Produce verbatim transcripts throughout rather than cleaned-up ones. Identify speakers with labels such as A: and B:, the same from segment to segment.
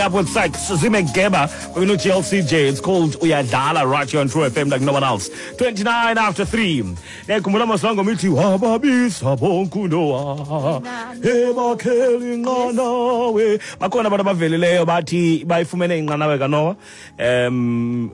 A: Up with Sykes, Zimegeba, we're no G L C J. It's called Uyadlala right here on True F M like no one else. twenty-nine after three. Nekhumbula masilangoma ithi wababisa bonke uNoah ebakhela inqanawe. Bakhona abantu abavelileyo bathi bayifumene inqanawe kaNoah. Um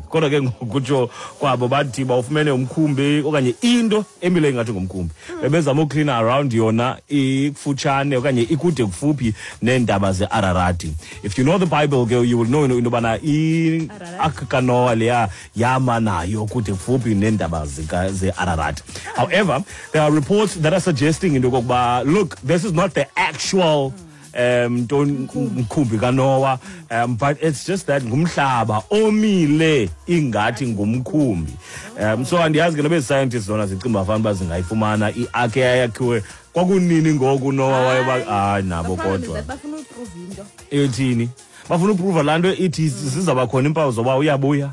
A: kodwa ke ngokutsho kwabo bathi bawufumene umkhumbi okanye into emile ingathi ngumkhumbi. Bebezama uklina around yona ikufutshane okanye ikude kufuphi neentaba ze-Ararati. If you know the Bible ke, you will know into yobana i-ark kaNoah leya yama nayo kude kufuphi neentaba ze-Ararati. However, there are reports that are suggesting into yokokuba, look, this is not the actual um ntoni, mkhumbi kaNoah, um but it's just that ngumhlaba omile ingathi ngumkhumbi. um so andiyazi ke noba ezi scientists zona zicinga uba fanuba zingayifumana i-ark eyayakhiwe kwakunini ngoku Noah wayeba. Hayi nabo kodwa.
B: Bafuna uprove into.
A: Ethini? Bafuna uprova laa nto ithi zizawuba khona iimpawu zoba uyabuya.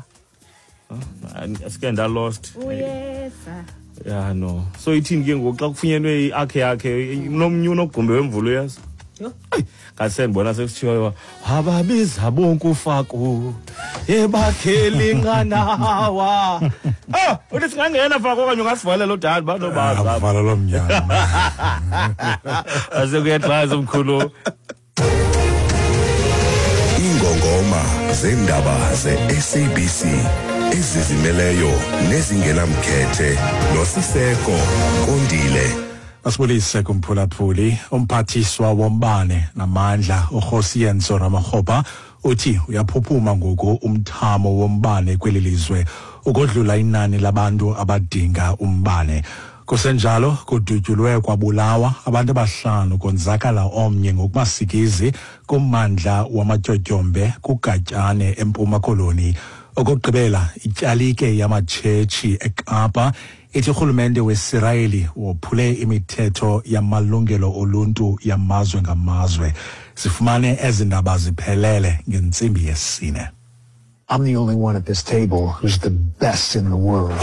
A: Asike ndalost.
B: Uyeza.
A: Ya, no, so ithini ke ngoku xa kufunyenwe i-ark yakhe nomnye unogumbe wemvula, uyazi?
B: Yho.
A: Eyi, ngase ndibona sekusithiwa wababiza bonke uFaku ebakhela inqanawa. Ah, uthi singangena, Faku, okanye ungasivalela udala banobaza.
C: Avala lo mnyango.
A: Asekuyexaza umkhulu.
D: Ingongoma zendaba ze-S A B C ezizimeleyo nezingenamkhethe noSiseko Kondile.
C: Asibulise kumphulaphuli. Umphathiswa wombane namandla uKgosientsho Ramokgopa uthi uyaphuphuma ngoku umthamo wombane kweli lizwe ukodlula inani labantu abadinga umbane. Kusenjalo, kudutyulwe kwabulawa abantu abahlanu, konzakala omnye ngokumasikizi kummandla wamatyotyombe kuGatyane eMpuma Koloni. Okokugqibela, ityalike yamatshetshi eKapa ithi urhulumente weSirayeli wophule imithetho yamalungelo oluntu yamazwe ngamazwe. Sifumane ezi ndaba ziphelele ngentsimbi yesine.
E: I'm the only one at this table who's the best in the world.